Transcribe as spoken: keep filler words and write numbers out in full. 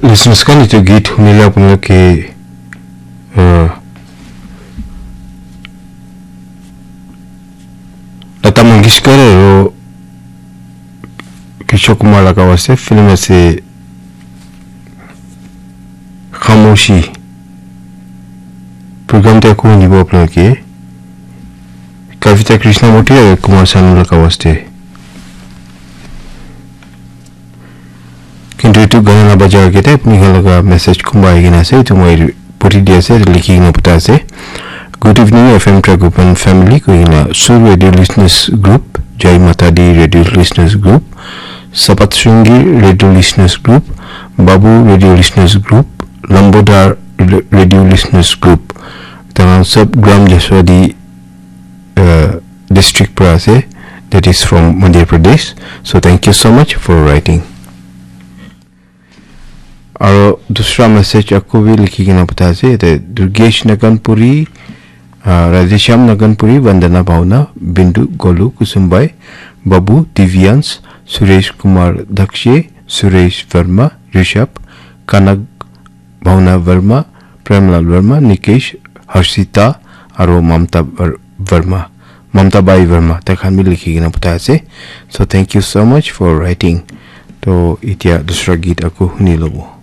Listeners khan, etu git hunile apni khan ke, uh, Lata Mangeshkar aru Kishore Kumar laga ase, film ase Khamoshi. Program te aku nibo apni khan ke Kavita Krishnamurti aru Kumar Sanu laga ase. Kintu etu gana la bajar ke te apni khan laga message kumba ahi kena ase, etu moi puri di ase, likhi kena pata ase. Good evening, F M Tragopan family, koi kena Sur Radio Listeners Group, Jai Mata Di Radio Listeners Group, Sapat Shringi Radio Listeners Group, Babu Radio Listeners Group, Lambodar Radio Listeners Group. Tahan sab Gram Jaswadi, uh, district pra ase, that is from Madhya Pradesh. So thank you so much for writing. Aro dusra message ako bi likhi kena pata ase, yate Durgesh Naganpuri, uh, Radheshyam Naganpuri, Vandana Bhavna, Bindu Golu Kusumbai, Babu, Divyans, Suresh Kumar Dakshe, Suresh Verma, Rishabh, Kanak Bhavna Verma, Premlal Verma, Nikesh, Harshita, aro Mamta Ver-, Verma, Mamta Bai Verma, tai khan bi likhi kena pata ase. So thank you so much for writing. To etia dusra git ako huni lobo.